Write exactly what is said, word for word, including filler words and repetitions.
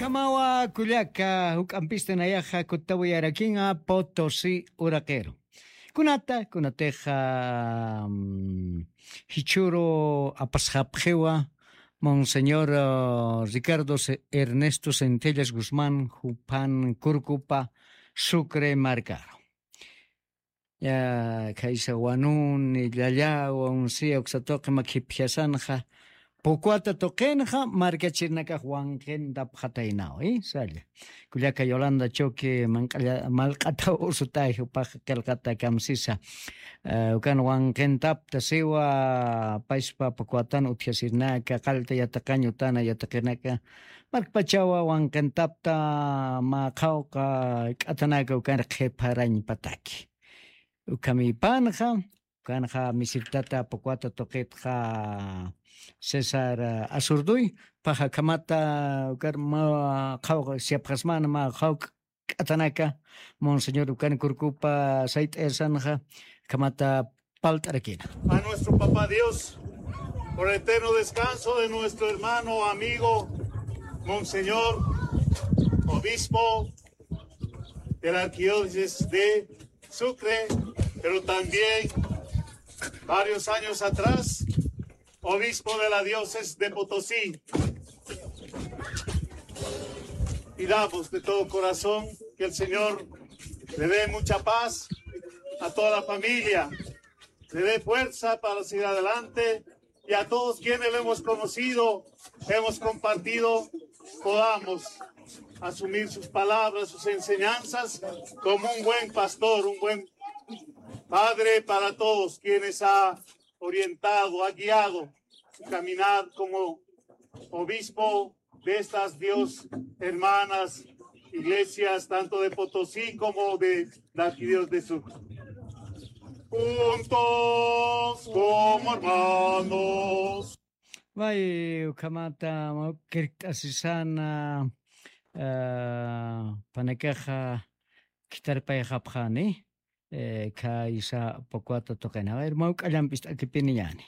Amawa kullaka juk'ampista nayaxa kutawiyarakinga potosi uraqiru. Kunata kunatixa jichuru apasxapxiwa monseñor ricardo ernesto centellas guzmán juphan kurkupa sucre markaru. Khaysa wanuni llallawa unsiya uksatuqi makhipjasanxa pukwata tuqinxa markachirnakax wanqintapxataynaw. Salla kullaka yolanda choque malq'ataw usutay jupax qilqata kamsisa. Ukan wanqintapta siwa payspa pukwatan utjasirnaka qallta yataqañ utana yataqinaka markpachawa wanqintapta mä qhawqa k'atanaka ukan qhipharañpataki. Ukhamipanxa ukanxa misirtata pukwata tuqitxa césar azurduy paxa akhamata ukar mä qhawq siyapxasmana mä qhawk k'atanaka monseñor ukan kurkupa sayt'ayasanxa akhamata palt'arakina. A nuestro papá Dios por el eterno descanso de nuestro hermano amigo monseñor obispo de la arquidiócesis de Sucre, pero también varios años atrás, obispo de la diócesis de Potosí. Pidamos de todo corazón que el Señor le dé mucha paz a toda la familia, le dé fuerza para seguir adelante y a todos quienes lo hemos conocido, hemos compartido, podamos asumir sus palabras, sus enseñanzas como un buen pastor, un buen padre para todos quienes ha orientado, ha guiado su caminar como obispo de estas dios hermanas iglesias, tanto de Potosí como de la arquidiócesis de Sur. Juntos como hermanos. May ukhamata mawkirkt'asisana panakaxa khitarpayxapxani khaysa pukwata tuqina. A ver mawk'allampist'akipiniñani.